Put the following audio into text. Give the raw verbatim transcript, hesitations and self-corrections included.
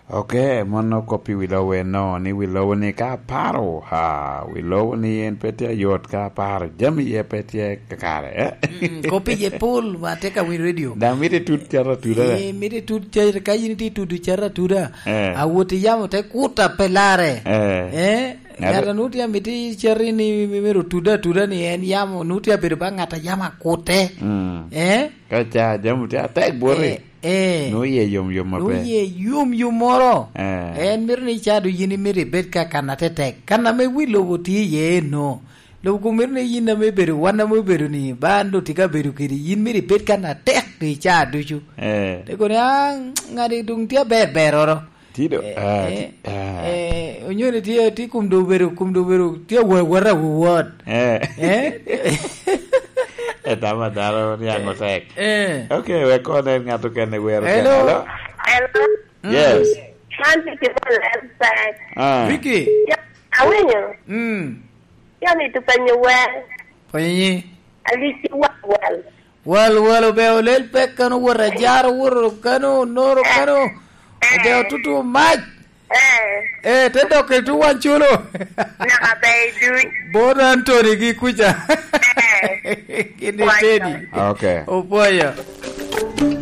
Ok, mano kop i wi lobo eno, ni wi lobo ni ka aparo, ha, wi lobo ni en pe tye ayot ka aparo, jami iye pe tye kakare, eh? Mm, kop iye pol, ma te ka winy radio. Dang mito itut caro atuda, eh? Eh, mito itut caro, ka yin itye itudo caro atuda. Eh. Awot i yamo te kuta pe lare. Eh. Eh? Ng'ato Ng'ato nu tye amito i cati ni mi-, myero otude atuda ni en yamo, nu tye abedo ba ŋat a yamo akute. Mm. Eh? Ka ca jami tye atek bwoti. Eh, eh. Nu iye yom yom maber. Nu iye yom yom moro. Eh. En mito ni ca du yin imito ibed ka kan atetek. Kan ame wi lobo tye iye eno. Lobo kun mito ni yin ame ibedo, wan ame obedo ni, ba an doŋ tye ka bedo kedi, yin mito ibed kan atek i ca ducu. Eh. Te kono ni, "Ah, ŋadi doŋ tye aber beroro." Tido, Eh, ah, eh, ti-, ah. Eh, onyoni tye, tye kum do obedo, kum do obedo, tye awot, awot, awot. Eh. Eh? Etama dano niaŋ otek. Eh. Ok, wek kono en ŋat okene wero Hello. Kene. Hello? Hello? Mm. Yes. Man Vicky Molel back. Ah. Vicky? Ya, awinyo? Mm. Ya, mito penyo wer. Penyi? Alici wal wal. Wal, wal, obe olel pek kano, wot ajaro, wot kano, noro kano. Obe otutu mac. Eh. Eh, te dok i tu wan culo. Naka be i duc. Bono Anthony gi kuca. Eh. Gin i Pwoyo. Tedi. Ok. Opwoyo.